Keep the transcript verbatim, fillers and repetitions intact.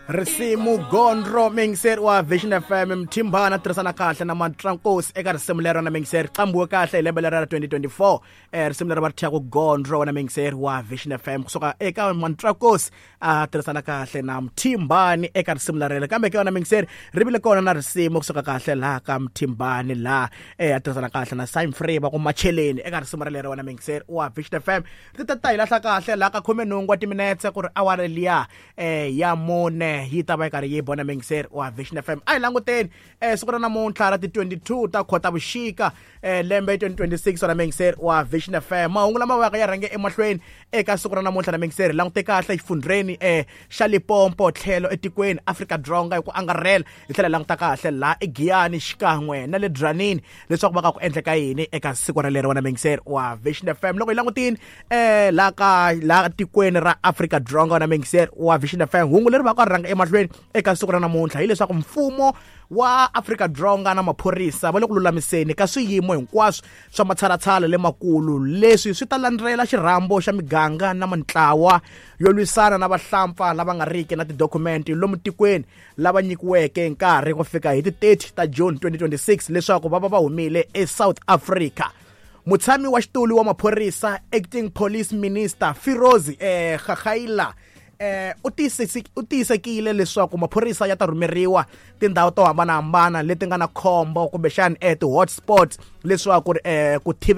Risimu Gondro, muyingiseri wa Vision F M, Mthimbani tirhisana kahle na Matrankosi eka risimu lero na muyingiseri, qambiwe kahle hi lembe lera ra twenty twenty-four. eh risimu leri va ri thyaku Gondro na muyingiseri wa Vision F M, kusuka eka Matrankosi a tirhisana kahle na Mthimbani eka risimu lerele. Kambe ke yona muyingiseri, ri vile kona na risimu kusuka kahle laha ka Mthimbani, laha eh a tirhisana kahle na Simon Free, va ku Macheleni eka risimu relero. Wena muyingiseri wa Vision F M, ri ta ta hi lahla kahle laha ka khume nhungu wa timinetse ku ri awara liya eh ya mune yi ta va yi karhi yi bona. Muyingiseri wa Vision F M, a hi languteni eh siku ra namuntlha ra ti twenty-two ta Khotavuxika, eh lembe twenty twenty-six. Wena muyingiseri wa Vision F M, mahungu lama vaka ya rhange emahlweni eka siku ra namuntlha na muyingiseri, langute kahle exifundheni eh xa Limpopo, tlhelo etikweni Afrika Dzonga hi ku angarhela, hi tlhela hi languta kahle laha eGiyani xikan'we na le Dzanini leswaku va ka ku endleka yini eka siku ralero. Wena muyingiseri wa Vision F M, loko hi langutini eh laha ka laha tikweni ra Afrika Dzonga, wena muyingiseri wa Vision F M, hungu leri va ka ri rhanga emahlweni eka siku ra namuntlha hileswaku mfumo wa Afrika Dzonga na maphorisa va le ku lulamiseni ka swiyimo hinkwaswo swa matshalatshala lemakulu. Leswi swi ta landzela xirhambo xa miganga na mintlawa yo lwisana na vahlampfa lava nga riki na tidokumenti lomu tikweni, lava nyikiweke nkarhi ku fika hi ti thirty ta June twenty twenty-six leswaku va va va humile eSouth Africa. Mutshami wa xitulu wa maphorisa, Acting Police Minister Firoz eh Gaghaila, eh u tiyisisi u tiyisekile leswaku maphorisa ya ta rhumeriwa tindhawu to hambanahambana leti nga na khombo, kumbexani eh ti-hotspots, leswaku eh ku thivela.